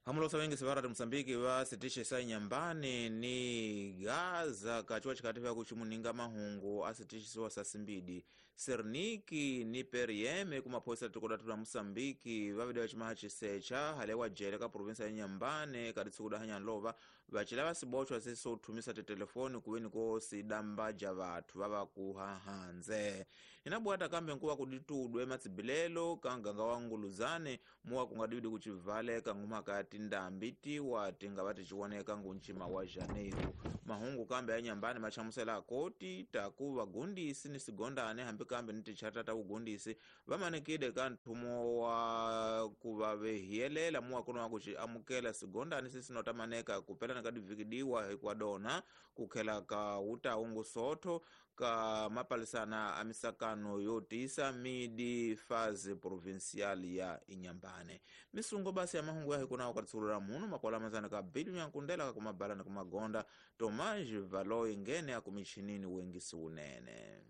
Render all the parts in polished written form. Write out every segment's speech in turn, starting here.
Hamulosa wengi sivarati Mosambiki va sitixe sa Inhambane ni Gaza kachiwa chikati vya kuchimuninga mahungu asitixisiwa sa simbidi Serniki ni PRM kumaphoyisa tikodathu la Mosambiki vavide vachimaha chisecha halewa jele ka provinsa ya Inhambane kati tsikuda hanyanlova vachila vasibochwa sisothumisa titelefoni kuweni ko sidambaja vathu vava kuhahanze inabwata kambe nkuva kuditudwe matsibilelo ka nganga wa Nguluzane muwa kungadidi kuchivaleka ngumaka tindambi tiwa tingava tichiwoneka ngunchima wa Janeiro. Mahungu kambe ya Inhambane machamusela koti taku vagundisi ni sigondane hambi kambe ni tichata ta ugundisi vamanekide ka nthumo wa kuva vehiyelela muwa kuno wa kuchi amukela sigondane sisinotamaneka kupelana ka divikidiwa hikwadona kukhela ka utaungu sotho ka mapalisana a misakano yo tisa midi fazi provincial ya Inhambane. Misungo basi ya mahungu ya hikuna wakatsulura munu makwala mazana ka bilu ya nkundela kumabala na kumagonda Tomaji Valoi ngene akumichinini wengi siunene.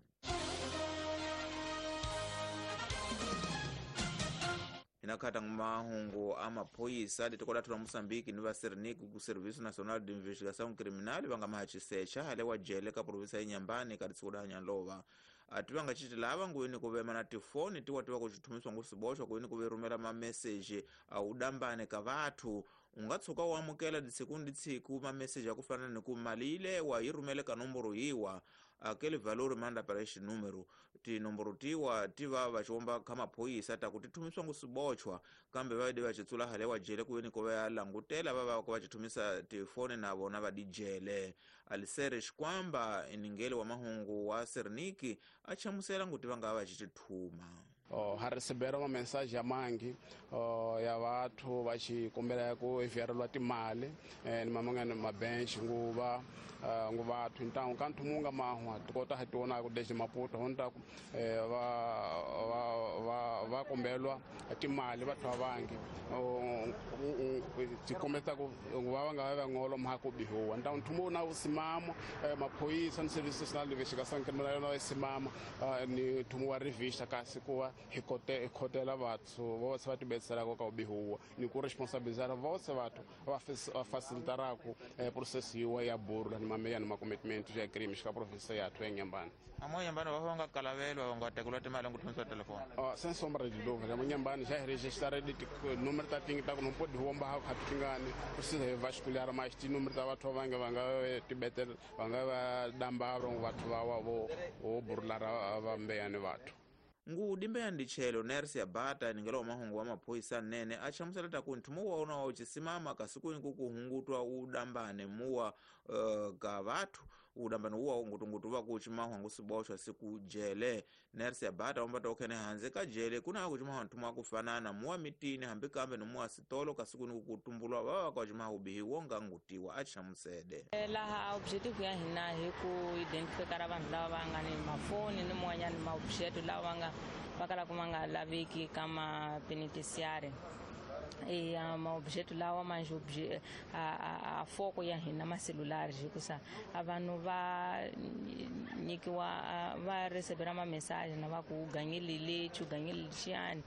Inakata mahungu amaphoyisa litikodathu la Mosambiki ni va Serniki ku Serviço Nacional de Investigação Criminal vanga mahachisecha halewa jele ka provinsa ya Inhambane ka tsikuda hanyanlova ativanga chiti lava nguweni kuvema na tifoni tiwa tiwa kuchithumiswa ngusibochwa kuweni kuverumela mameseji audambane ka vathu ungatsuka u amukela ditsiku ni ditsiku mameseji akufana ni ku mali ilewa yi rhumele ka nomboro yiwa akele valori manda para xinúmero tinomboro tiwa tiva vaxiomba ka maphoyisa ta ku ti thumiswa ngusibochwa kambe va va xitsula halewa jele kuweni ko va ya langutela va va va xithumisa tifoni na vona va dijele. Alisere Xikwamba iningele wa mahungu wa Serniki a chamusela nguti va nga va xithuma. Ha receberam uma mensagem ya mangi ya vathu va xikombela ku enviarelwa timali ni mamangana mabench nguva nguvathu ntangu ka nthumu nga mahwa tikota ha tiona ku desde Maputo honta ku va va va kombelwa timali vathu vangi tikombeta ku va nga va ngolo mha ku bihuwa ntangu nthumu na usimamo maphoyisa ni service national investigação criminal na usimamo ni nthumu wa revista kasi ku hi khotela vathu vose va tibetselaka ka ubihuwa ni ku responsabilizar vose vathu va facilitaraka process yiwa ya burula ni mameya ni makomitment ya crime ka province ya ya Inhambane. Amo Inhambane va nga kalavelwa va nga tekelwa timali ku thumisa telefoni. Sem sombra de dúvida, Inhambane já registraram número ta tingi ta ku não pode rombar ka tingani precisa vasculhar mais ti número ta vathu va nga tibetel va nga va damba vathu va wa vo burula va mbeyani vathu. Ngudi mbeya ndichelo Nersi ya Bata ningelo mahungu wa maphoyisa nene achamusela taku nthumu wa una wa uchisimama kasiku kuhungutwa udambane muwa ka vathu udambane uwa ngutungutu va kuchimahwa ngusibochwa siku jele. Nersi ya Bata ombata okhene hanze ka jele kuna kuchimahwa nthumu akufanana muwa mitini hambi kambe ni muwa sitolo kasiku kutumbulwa vava kwa ubihi wonga ngutiwa achamusede. Laha objetivo ya hina hi ku identifikara vanhu lava va nga ni mafoni ni mun'wanyana maobjeto lawa nga vakala kumanga laveki kama penitenciária. E maobjeto lawa manje a foko ya hina macelulares hikusa a vanhu va nyikiwa va recebera ma message na va ku ganyile lexi u ganyile lexiyani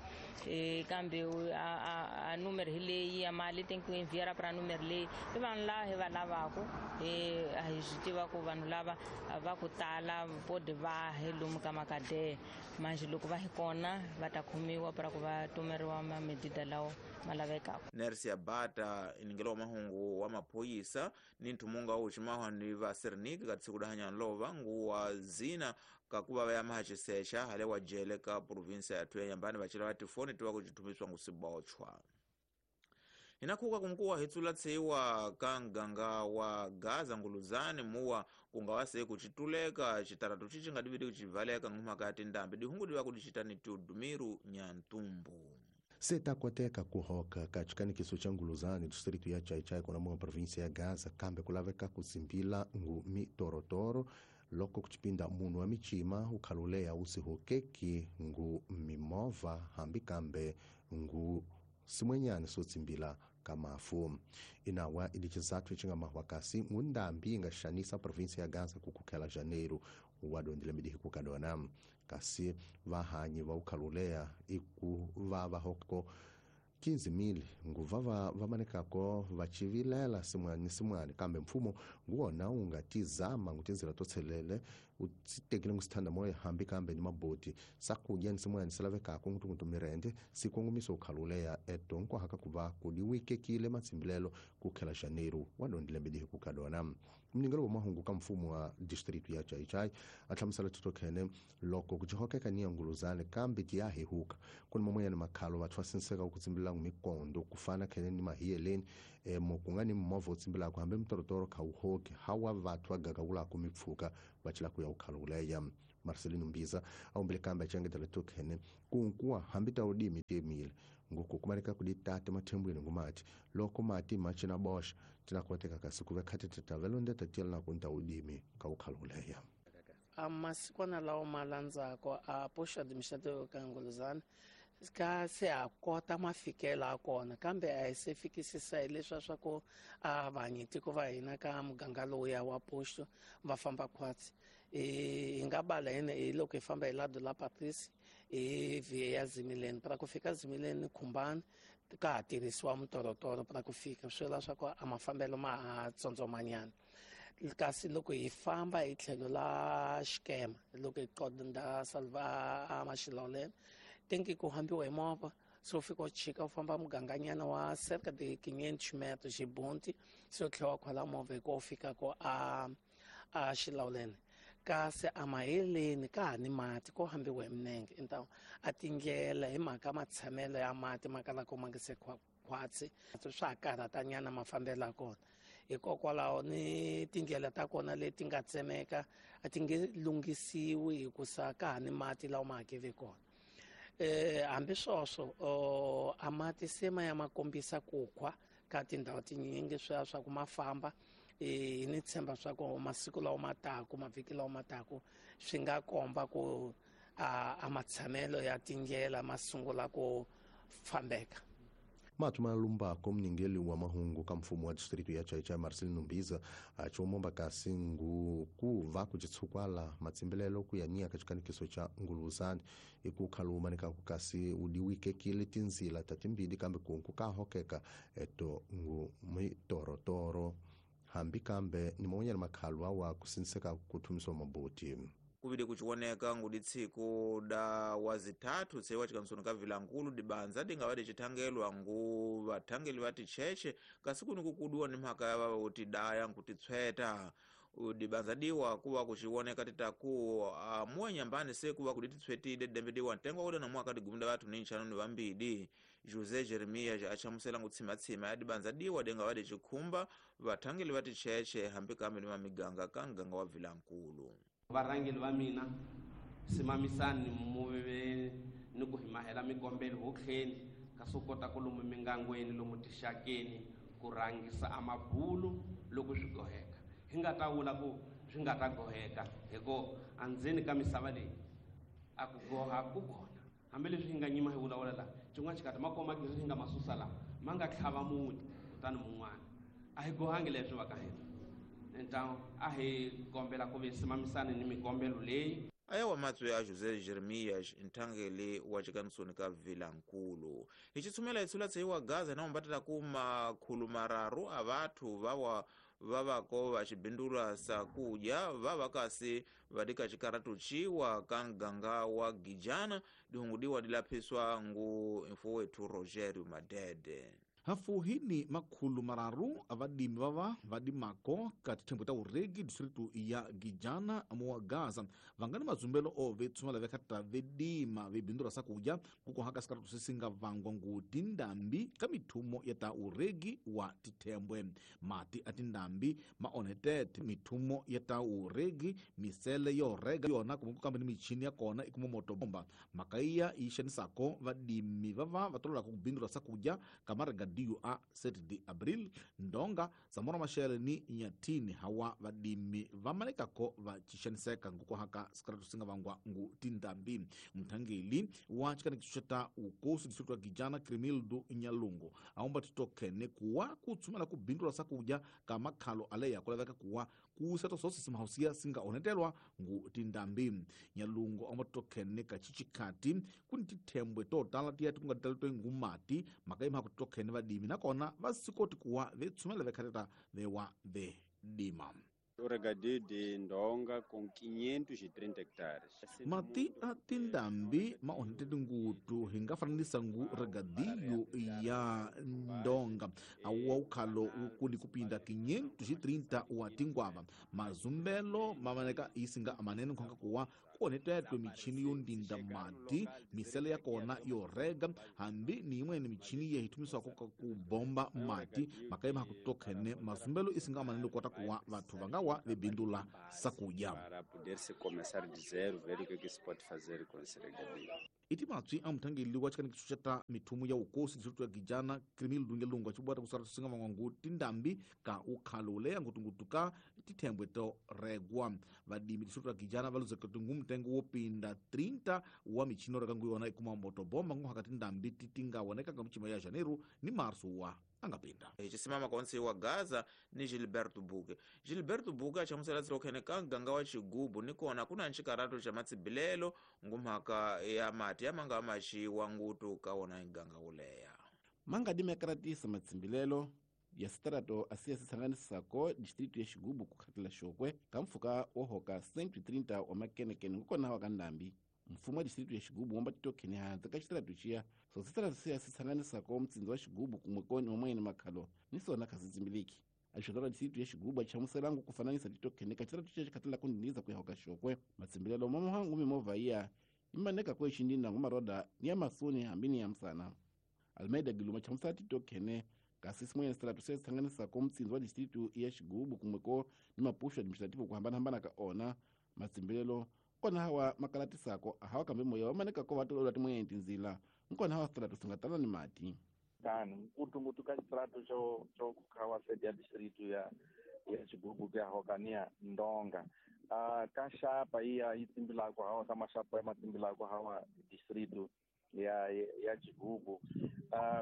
kambe a número hi leyi ya mali tem que enviar para número leyi i vanhu lava hi va lavaku hi swi tiva ku vanhu lava va ku tala pode va hi lomu ka makadeya manje loko va hi kona va ta khomiwa para ku va tumeriwa mamedida lawo malavekako. Nersi ya Bata iningelo wa mahungu wa maphoyisa ni nthumunga uchimahwa ni va Serniki ka tsikuda hanyanlova nguwa zina kakuva va ya mahachisecha halewa jele ka provinsa ya Inhambane vachila va tifoni tiwa kuchithumiswa ngusibochwa. Inakhuka kunkuwa hitsula tsiwa ka nganga wa Gaza Nguluzane muwa kungawase kuchituleka chitaratu chichi ngadividi kuchivaleka ngumaka tindambi dihungu diwa kudichitani tudumiru nyantumbu. Se takoteka kuhoka kachikanikiso cha Nguluzane distrito ya Chaichai kuna mwa província ya Gaza kambe kulaveka kuzimbila ngu mitorotoro loko kuchipinda munu wa michima ukhalulea usihokeki ngu mimova hambi kambe ngu simwenyani sotsimbila kamafu. Inawa ilichizathu chinga mahwakasi ngundambi ingaxanisa província ya Gaza kukukhela Janeiro wadondile midihi kukadona kasi vahanyi va ukhalulea iku va vahoko 15,000 nguva va manekako va chivilela simwani ni simwani kambe mfumo nguwona wu nga tizama ngutinzila to tshelele u tekile ngusithanda moya hambi kambe ni maboti sakudya ni simwani silavekako ngutungutu mirende sikongomiso ukhaluleya eto nkwahaka kuva kudiwikekile matsimbilelo kukhela janeiro wa dondilembe dihi kukadona. Mningelo wa mahungu ka mfumo wa distritu ya Chaichai ahlamusela titokhene loko kujihokeka ni nguluzane kambe tiyahehuka kuni mamoya ni makhalo vathu vasinseka ku tsimbilela mikondo kufana khene ni mahiyeleni mokunga ni movha wu tsimbilaka hambi mitorotoro kha wu hoki hawa vathu va gagawulaka mipfhuka va cela ku ya ukhaluleya. Marcelino Mbiza a humbile kambe a cengetela tokhene kunkuwa hambi ta udimi tiemile nguku kumaleka kuditata mathembwini ngumati loko mati machina boxa tinakoteka kasi kuve khati titavelo tatiyela na kunta udimi ka ukhaluleya. A masikwana lawa ma landzako a posto administrativo ka Nguluzana ka se a kota mafikelo a kona kambe a hi se fikisisa hi leswa swa ku a vanyitiko va hina ka muganga lowuya wa posto va famba khwatsi. Hi nga bala hina hi loko hi famba hi lado la Patrice hi via ya Zimileni para ku fika Zimileni Khumbani ka ha tirhisiwa mitorotoro para ku fika swi vula swa ku a mafambelo ma ha tsondzomanyana. Kasi loko hi famba hi tlhelo la Xikema loko hi qonda Salva a Maxiloleni tenki ku hambiwa hi movha se u fika u chika u famba muganganyana wa cerca de 500 metros xibunti se u tlhela wa khwela movha hi ku u fika ko a Xilawuleni. Kasi a maheleni ka ha ni mati ko hambiwa hi minenge então a tindlela hi mhaka matshamelo ya mati ma kalaka ma nga se khwatsi swa ha karhatanyana mafambelo ya kona. Hikokwalaho ni tindlela ta kona leti nga tsemeka a ti nge lunghisiwi hikusa ka ha ni mati lawa ma hakele kona. Hambi swoswo a mati se ma ya ma kombisa ku khwa ka tindhawu tinyingi swa swa ku ma famba hi ni tshemba swa ku masiku lawa ma taku mavhiki lawa ma taku swi nga komba ku a matshamelo ya tindlela ma sungula ku fambeka. Matu malumbako mningeli wa mahungu ka mfumo wa distritu ya Chaichai Marcelino Mbiza achomomba kasi ngu kuva kuchitsukwala matsimbilelo kuyania kachikanikiso cha Nguluzani ikukhaluma nikakukasi udiwikekile tinzila tatimbili kambe kunku kahokeka eto ngu mitorotoro hambi kambe ni monyana makhalwa wa kusinseka kuthumiswa maboti. Kuvide kuchioneka ngudi tsiku da wazithathu tsewa chikansoni ka Vilankulu dibanza dingava dichithangelwa ngu vathangeli va ticheche kasi kuni kukuduwa ni mhaka ya vava kuti daya nkuti tshweta dibanza diwa kuva kuchioneka titaku amuwa nyambani se kuva kudi titshwetile dembe diwa ntengo wa na mwaka digumda vathu ni nchanu ni vambidi. José Jeremias achamusela ngutsimatsima ya dibanza diwa dingava dichikhumba vathangeli va ticheche hambi kambe ni mamiganga ka nganga wa Vilankulu. Varhangeli va mina simamisani muve ni ku himahela mikombelo hotlheni kasi u kota ku lomu mingangweni lomu tixakeni ku rhangisa amabulu loko swi goheka hi nga ta vula ku swi nga ta goheka hikuva andzeni ka misava leyi a ku goha ku kona hambileswi hi nga nyima hi vulavula laha xin'wana xikati makomagezi hi nga ma susa laha ma nga tlhava muti kutani mun'wana a hi gohangi leswi va ka hina. Então a hi kombela ku ve simamisani ni mikombelo leyi. Aya wa matswe ya José Jeremias nthangeli wa chikansoni ka Vilankulu. Hi chitsumela itsula tseiwa Gaza na umbatela ku makhulu mararu a vathu vawa vavako va xibindulwa sakudya vava kasi vadika xikaratu chiwa ka nganga wa Gijana dihungudiwa dilaphiswa ngu mfowethu Rogerio Madede. Hafuhini makhulu mararu avadimi vava vadimako ka tithembo ta uregi distritu ya Gijana muwa Gaza vangani mazumbelo o vetsumala vekhata vedima vebindura sakudya kukohaka sikaratu sisinga vangwa ngu tindambi ka mithumo ya ta uregi wa tithembwe mati a tindambi maonetete mithumo ya ta uregi misele yo rega yona kumbe kambe ni michini ya kona ikumomoto bomba makaiya yi xanisako vadimi vava va tololaka ku bindura sakudya ka marega regadio a 7 de Abril, Ndonga, Samora Machel ni Nyatini hawa vadimi vamalekako vacixaniseka ngukuhaka sikaratu singa vangwa ngu tindambi. Mthangeli wa xikanikiso xa ta ukosi distrito ya Gijana Crimildo Nyalungu aumba titokhene kuwa kutsumela ku bindula sakudya ka makhalo aleya kulaveka kuwa kusa tososi simahausiya singa onetelwa ngu tindambi. Nyalungu aumba titokhene ka chichikhati kuni tithembwe to tala tiya tikunga tale ngumati makaima kutokhene vadimi nakona vasikoti kuwa vetsumela vekhateta vewa vedima. O regadio de Ndonga com 530 hectares. Mati a tindambi maonetete ngutu hinga fananisa ngu regadio ya Ndonga awa ukhalo ukuni kupinda 530 wa tingwava. Mazumbelo mamaneka isinga amanene nkhonga kuwa kuonetetwe michini yondinda mati misele ya kona yorega hambi ni imweni michini yehitumiswako kubomba mati makaima hakutokhene mazumbelo isinga amanene kota kuwa vathu vangawa vebindula sakudya. Para poder se começar de zero, ver o que que se pode fazer com esse regadio. Iti matswi a muthangeli wa xikanikiso xa ta mithumu ya ukosi distrito ya Gijana Crimildo Nyalungu acibwata kusala singa van'wangu tindambi ka ukhalo leya ngutungutu ka tithembwe to regwa. Vadimi distrito ya Gijana va luzeka tingu mtengo wo pinda 30 wa michini yo reka ngu yona ikuma motobomba nguhaka tindambi ti nga woneka ka michima ya Janeiro ni Marso wa angapinda. Chisimama konse wa Gaza ni Gilberto Buke. Gilberto Buke achamusela tsilokhene ka ganga wa Chigubu nikona kuna nchikarato cha matsibilelo ngumhaka ya mati ya manga maxiwa ngutu ka wona ganga uleya. Manga dimekaratisa matsimbilelo ya sitrato asiya sitsanganisako distrito ya Xigubu kukhatela xokwe ka mpfhuka wo hoka 130 wa makenekene ngukona wa ka ndambi. Mfumo wa distrito ya Xigubu womba titokhene hansi ka xitrato xiya so sitrato siya sitsanganisako mtsindzi wa Xigubu kumwe koni wamwene makhalo ni sona kha sitsimbiliki. Axoto ra distrito ya Xigubu achamuselangu kufananisa titokhene ka xitrato xiya xikhatela kundiniza kuya hoka xokwe. Matsimbilelo mamuhangu mimovha iya imaneka kwe xindina ngumaroda ni ya masuni hambi ni ya msana. Almeida Giluma chamusela titokhene kasi simwene sitrato siya sitsanganisako mtsindzi wa distrito ya Xigubu kumwe ko ni mapuxo administrativo kuhambanahambana ka ona. Matsimbilelo kona hawa makalatisako hawa kambe moya wamaneka ko vatolola timwene tindzila nkona hawa sitrato singatala ni mati. Tano ngutungutu ka xitrato xo khawa sede ya distrito ya Xigubu ku ya hokania Ndonga. Ka xapa iya yi tsimbilako hawa ka maxapa ya matsimbilako hawa distrito ya Xigubu.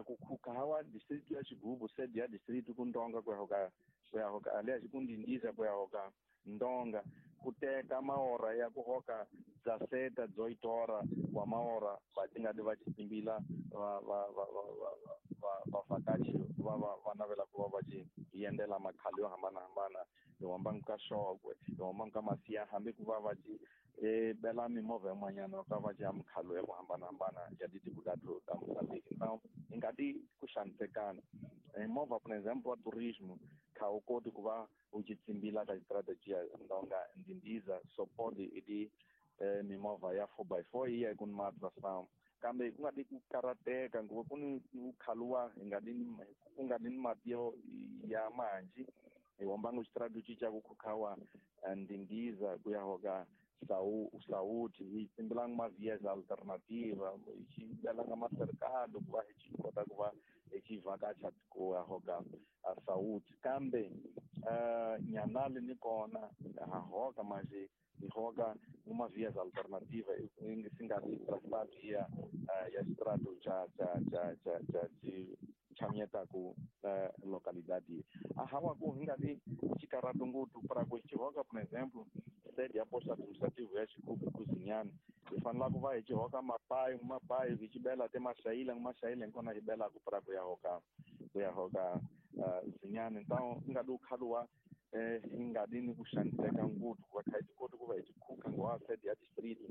Ku khuka hawa distrito ya Xigubu sede ya distrito ku Ndonga ku ya hoka aliás ku Ndindiza ku ya hoka Ndonga kuteka maora ya kuhoka 17 18 hora wa maora vatingadi va xitsimbila vavhakachi va navela ku va va ci yendela makhalo yo hambanahambana hi hambangu ka Xokwe hi hambangu ka Masiya hambi ku va va ci bela mimovha yin'wanyana ka va ci ya mikhalo ya ku hambanahambana ya titiko ta Mozambique. Então hi nga ti ku xanisekana movha por exemplo wa turismo kha wu koti ku va wu ci tsimbila ka xistrategy ya Ndonga Ndindiza so pode idi mimovha ya 4x4 yi ya ku ni matração kambe ku nga di ku karateka nguva ku ni ku khaluwa hi nga di ku nga di ni mati yo ya manji hi hombangu xistrategy xa ku khukhawa Ndindiza ku ya hoka Saúde hi tsimbilanga mavias alternativa hi xibelanga macercado ku va hi xi kota ku va hi xi vhakacha ku ya hoka Saúde kambe Nyanale ni kona ha hoka manje hi hoka uma vias alternativa singa ri traçado ya xitrato xa xi ku localidade a hawa ku hi nga ri xikarato ngopfu para ku xi hoka por exemplo sede ya posto administrativo ya Xigubu ku Zinyani hi fanela ku va hi xi hoka mapayi hi xi bela te maxayila maxayila nkona hi belaku para ku ya hoka Zinyani. Então hi nga di ukhaluwa hi nga di ni ku xaniseka ngopfu ku va kha hi ti koti ku va hi ti khuka ngowa sede ya distrito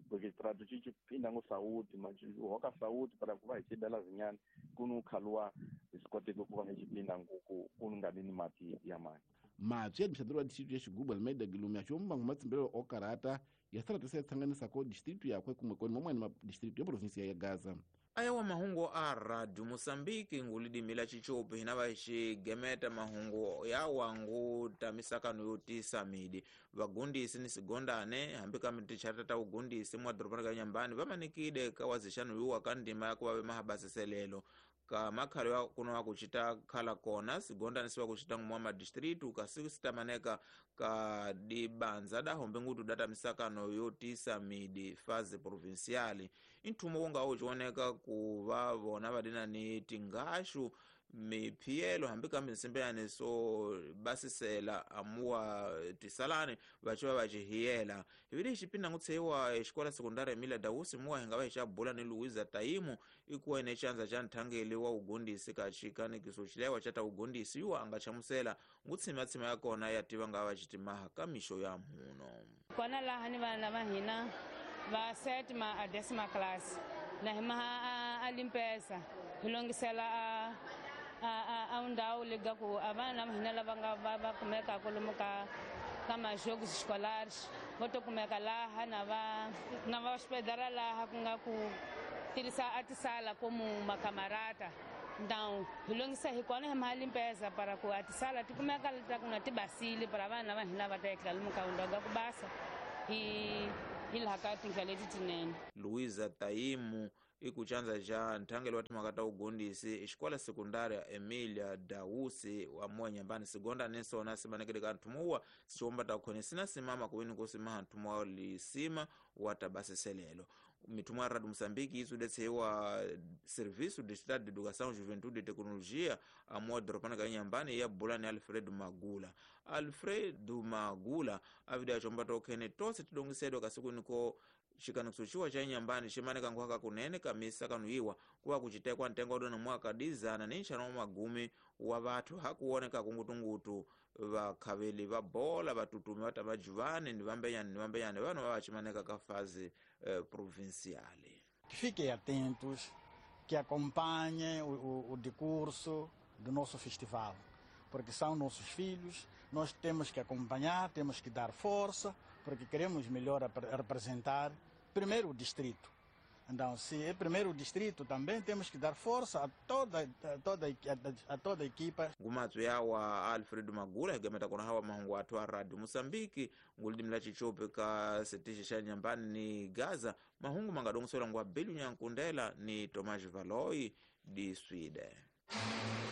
porque xitrato xi phinda ngo Saúde mas hoka Saúde para ku va hi xi bela Zinyani ku ni ukhaluwa hi swi koteki ku va hi xi phinda ku nga di ni mati ya mati. Matswi ya administrador wa distrito ya Xigubu Almeida Gilumi axomba ngu matsimbelelo o karata ya sitrato se tsanganisako distrito yakwe kumwe koni mamwene ma distrito ya provinsia ya Gaza. Ayawa mahungu a Radio Mozambique ngulidimila chichopi hina va xigemeta mahungu ya wangu tamisakano yo tisa midi vagundisi ni sigondane hambi ka mitichata ta ugundisi mwa doroba ka Nyambani vamanikide ka wazixano yuwa ka ndima ya ku va ve mahabasiselelo Ka makhalo ya kuno wa kuchita khala kona sigondanisiwa kuchita ngumwa madistritu kasi sitamaneka ka dibanza dahombe ngutu data misakano yotisa midi faze provinciali. Inthumo wonga uchioneka kuva vona vadina ni tingashu miphiyelo hambi kambe nsimbeyani so basisela amuwa tisalani vachiva vachihiyela. Hivili xipinda ngutsheiwa exikola sekundari Emilia Dausi muwa hinga va xabula ni Luiza Taimu ikuwa ine chanza cha nthangeli wa ugondisi ka xikanikiso xilewa cha ta ugondisi yuwa anga chamusela ngutshimatsima ya kona ya tiva nga va xitimaha ka mixo ya mhuno. Kona laha ni vana va hina va sétima a décima classe na himaha a limpesa hi longisela a ndhawu leyi ku a vana va hina lava nga va kumekaka lomu ka majogos escolares vo to kumeka laha na va hospedara laha ku nga ku tirhisa a tisala como macamarata. Então hi longisa hi kona hi mali limpeza para ku a tisala ti kumeka ta ku nga ti basile para vana va hina va ta etlela lomu ka ndhawu ku basa hi laha ka tindlela leti tinene. Luiza Taimu ikuchanza cha nthangelo wa timhaka ta ugondisi xikola sekundari Emilia Dausi wa moya nyambani sigonda nisona simanekele ka nthumuwa sixiwomba ta khoni sina simama kuwini kusimaha nthumu wa lisima wa tabasiselelo. Mithumo ya Radio Moçambique isudetseiwa Serviço de Estado de Educação, Juventude e Tecnologia amuwa doropana ka nyambani ya bulani Alfredo Magula. Alfredo Magula avida chomba tokhene tose tidongisedwa kasiku xikanikiso xiwa xa nyambani ximaneka nkhwaka kunene kamisa kanuiwa kuva kucitekwa ntengo wadona mwaka dizana ni nxana wa magumi wa vathu hakuwoneka kungutungutu vakhaveli va bola vatutumi va ta vajuvani ni vambenyani vanhu va vaximaneka ka faze provinciale. Fiquem atentos, que acompanhem o decurso do nosso festival, porque são nossos filhos, nós temos que acompanhar, temos que dar força, porque queremos melhor representar primeiro o distrito. Então, se é primeiro o distrito, também temos que dar força a toda a equipa. Ngumatsu yawa Alfredo Magula higameta kona hawa mahungu athu a Radio Moçambique ngulidimi la Chichope ka setixe xa Nyambani ni Gaza. Mahungu mangadongoselwa ngwa Belu Nyankundela ni Tomás Valoi di Sweden.